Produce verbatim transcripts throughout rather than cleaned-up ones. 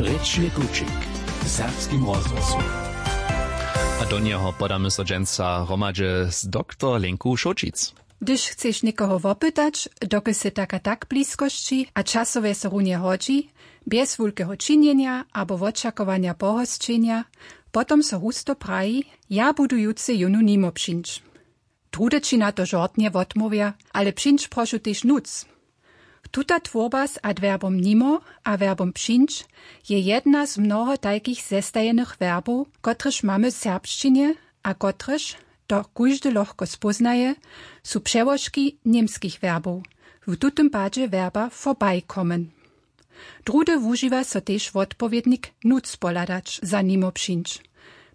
Rěčny kućik w serbskim rozhłosu. A do njeho podamy so dźensa hromadźe z doktor Lenku Šołćic. Hdyž chceš někoho wopytać, dokelž sy tak a tak w bliskosći a časowje so runje hodźi, bjez wulkeho činjenja abo wočakowanja pohosćenja, potom so husto praji: „Ja budu jutře jónu nimo přińć.“ Druhdy ći na to žortnje wotmołwja: „Ale přińć, prošu, tež nutř.“ Tuta twórba z adwerbom nimo a werbom přińć je jedna z mnoho tajkich zestajenych werbow, kotrež mamy w serbšćinje a kotrež, to kóždy lochko spóznaje, su přełožki němskich werbow, w tutym padźe werba vorbeikommen. Druhdy wužiwa so tež wotpowědnik nutř pohladać za nimo přińć,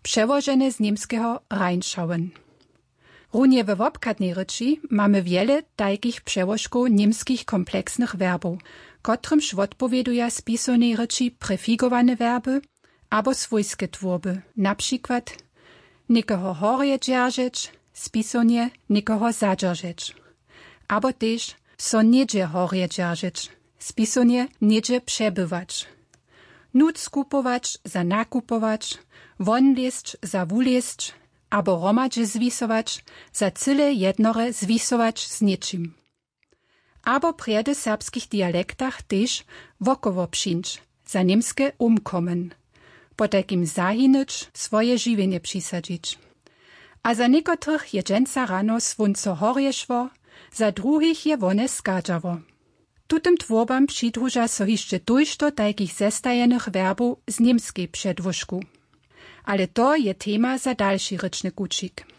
přełožene z němskeho reinschauen. Runje we wobchadnej rěči mamy wjele tajkich přełožkow němskich kompleksnych werbow, kotrymž wotpowěduja w spisownej rěči prefigowane werby abo swójske twórby, na přikład někoho horje dźeržeć, w spisownje někoho zadźeržeć, abo tež so něhdźe horje dźeržeć, w spisownje něhdźe přebywać, nutř kupować za nakupować, wonlězć za wulězć, abo hromadźe zwisować, za cyle jednore zwisować z něčim. Abo prjedy w serbskich dialektach tež wokoło přińć, za němske umkommen, potajkim zahinyć, swoje žiwjenje přisadźić. A za někotrych je dźensa rano słónco horje šło, za druhich je wone schadźało. Tutym twórbam přidruža so hišće tójšto tajkich zestajenych werbow z němskej předłužku. Ale to je tema za dalši rěčny kućik.